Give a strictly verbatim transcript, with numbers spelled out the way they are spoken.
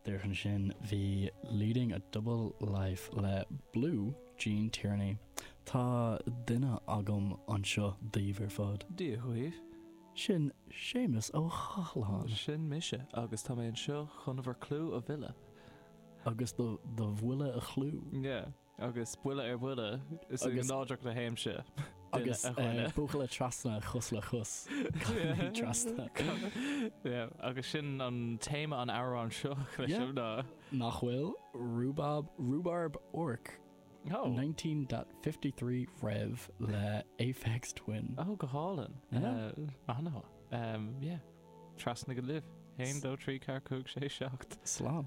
Díreach ansin bhí Leading a Double Life le Blue Gene Tierney. Tá duine agam anseo daoibh ar fad. Dia dhaoibh. Sin Séamus Ó Chathalláin. Sin mise agus tá mé anseo chun bhur clú a mhilleadh. Agus do do bhuille a chlú. Yeah. Agus buille ar bhuille is Agus- nádúrtha a théimse. Agus a dhuine. buachalla trasna chos le chos. Trasna. Yeah, agus sin an téama an amhrán seo leis Yeah. ná. Nach bhfuil Rhubarb Rhubarb Orc Oh. nineteen fifty-three Rev le Aphex Twin. Oh, go hálainn. Yeah. Uh, an-mhaith. Um, yeah. Trasna go libh. Haon, dó, trí, ceathair, cúig, sé, seacht. Slán.